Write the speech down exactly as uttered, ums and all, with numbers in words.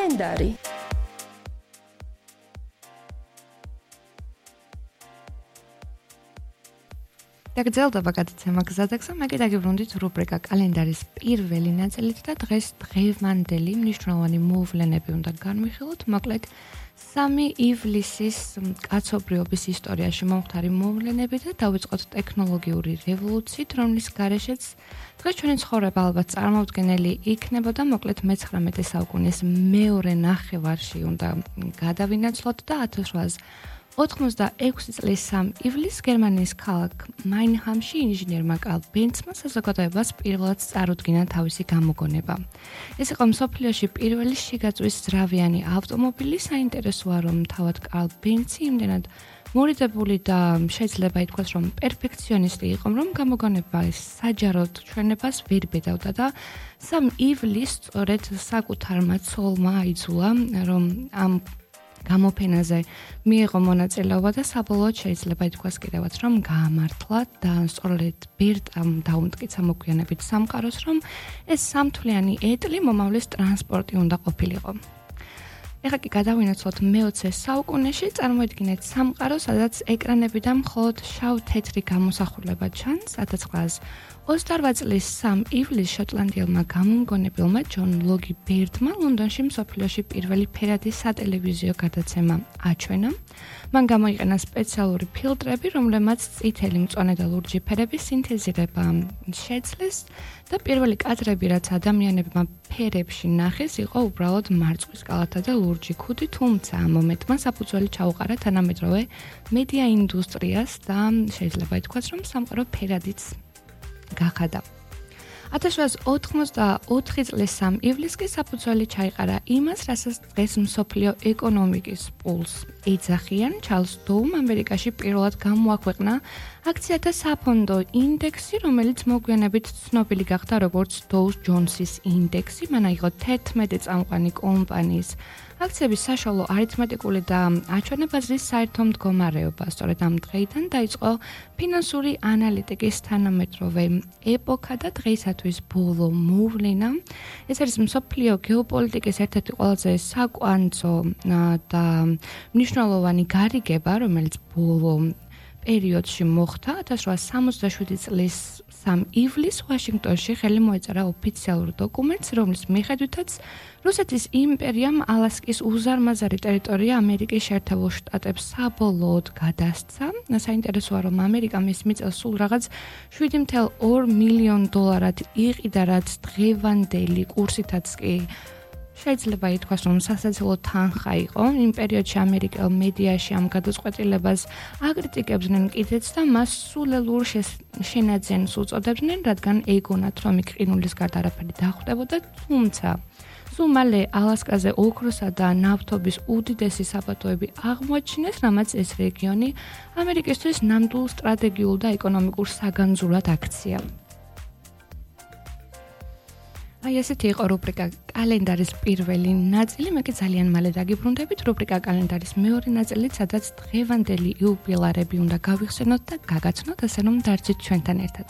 კალენდარი. დაგრძელდება გადაცემა გზადაგზა, მე კიდე გიბრუნდით რუბრიკა კალენდარის პირველი ნაწილით და დღეს დღევანდელი მნიშვნელოვანი მოვლენები უნდა განვიხილოთ. მოკლედ სამი ივლისის კაცობრიობის ისტორიაში მომხდარი მოვლენები და დავიწყოთ ტექნოლოგიური რევოლუციით, რომლის გარეშეც დღეს ჩვენი ცხოვრება ალბათ წარმოუდგენელი იქნებოდა. მოკლედ მეცხრამეტე საუკუნის მეორე ნახევარში უნდა გადავინაცვლოთ და ათას რვაასი ოთხმოცდაექვსი წლის სამი ივლისს გერმანიის ქალაქ მაინჰამში ინჟინერმა კარლ ბენცმა საზოგადოებას პირველად წარუდგინა თავისი გამოგონება. ეს იყო მსოფლიოში პირველი შიგაწვის ძრავიანი ავტომობილი. საინტერესოა, რომ თავად კარლ ბენცი იმდენად მორიდებული და შეიძლება ითქვას, რომ პერფექციონისტი იყო, რომ გამოგონება საჯაროდ ჩვენებას ვერ ბედავდა და სამი ივლისს სწორედ საკუთარმა ცოლმა აიძულა, რომ ამ გამოფენაზე მიიღო მონაწილეობა და საბოლოოდ შეიძლება ითქვას კიდევაც, რომ გაამართლა და სწორედ ბერტამ დაუმტკიცა მოგვიანებით სამყაროს, რომ ეს სამთვლიანი ეტლი მომავლის ტრანსპორტი უნდა ყოფილიყო. ეხლა კი გადავინაცვლოთ მეოცე საუკუნეში, წარმოიდგინეთ სამყარო, სადაც ეკრანებიდან მხოლოდ შავ-თეთრი გამოსახულება ჩანს. ათას ცხრაასი ოცდაორ წლის სამი ივლისს შოტლანდიელმა გამომგონებელმა ჯონ ლოგი ბერდმა ლონდონში მსოფლიოში პირველი ფერადი სატელევიზიო გადაცემა აჩვენა. მან გამოიყენა სპეციალური ფილტრები, რომლებმაც წითელი, მწვანე და ლურჯი ფერების სინთეზირება შეძლეს და პირველი კადრები, რაც ადამიანებმა ფერებში ნახეს, იყო უბრალოდ მარწყვის კალათა და ლურჯი ქუდი, თუმცა ამ მომენტმა საფუძველი ჩაუყარა თანამედროვე მედია ინდუსტრიას და შეიძლება ითქვას, რომ სამყარო ფერადიც გახადა. ათას რვაასი ოთხმოცდაოთხი წლის სამი ივლისს კი საფუძველი ჩაიყარა იმას, რასაც დღეს მსოფლიო ეკონომიკის პულს ეძახიან. ჩარლზ დოუმ ამერიკაში პირველად გამოაქვეყნა აქციათა საფონდო ინდექსი, რომელიც მოგვიანებით ცნობილი გახდა როგორც დოუს ჯონსის ინდექსი. მან აიღო თერთმეტი წამყვანი კომპანიის აქციების საშუალო არითმეტიკული და აჩვენებაზრის საერთო მდგომარეობა. სწორედ ამ დღეიდან დაიწყო ფინანსური ანალიტიკის თანამედროვე ეპოქა და დღეისათვის ბოლო მოვლენა. ეს არის მსოფლიო გეოპოლიტიკის ერთ-ერთი ყველაზე საკვანძო და მნიშვნელოვანი გარიგება, რომელიც ბოლო პერიოდში მოხდა. ათას რვაასი სამოცდაშვიდი წლის სამი ივლისს ვაშინგტონში ხელი მოეწერა ოფიციალურ დოკუმენტს, რომლის მიხედვითაც რუსეთის იმპერიამ ალასკის უზარმაზარი ტერიტორია ამერიკის შეერთებულ შტატებს საბოლოოდ გადასცა. საინტერესოა, რომ ამერიკა მის მიწელს სულ რაღაც შვიდი წუთი ორი მილიონი დოლარად იყიდა, რაც დღევანდელი კურსითაც კი შეიძლება ითქვას, რომ სასაცილო თანხა იყო. იმ პერიოდში ამერიკელ მედიაში ამ გადაწყვეტილებას აკრიტიკებდნენ კიდეც და მას სულელურ შენაძენს უწოდებდნენ, რადგან ეგონათ, რომ იქ ყინულის გარდა არაფერი დახვდებოდა, თუმცა სულ მალე ალასკაზე ოქროსა და ნავთობის უდიდესი საბადოები აღმოაჩინეს, რამაც ეს რეგიონი ამერიკისთვის ნამდვილ სტრატეგიულ და ეკონომიკურ საგანძურად აქცია. აი ესეთი იყო რუბრიკა კალენდარის პირველი ნაწილი. მე კი ძალიან მალე დაგიბრუნდებით რუბრიკა კალენდარის მეორე ნაწილით, სადაც დღევანდელი იუბილარები უნდა გავიხსენოთ და გაგაცნოთ, ასე რომ დარჩით ჩვენთან ერთად.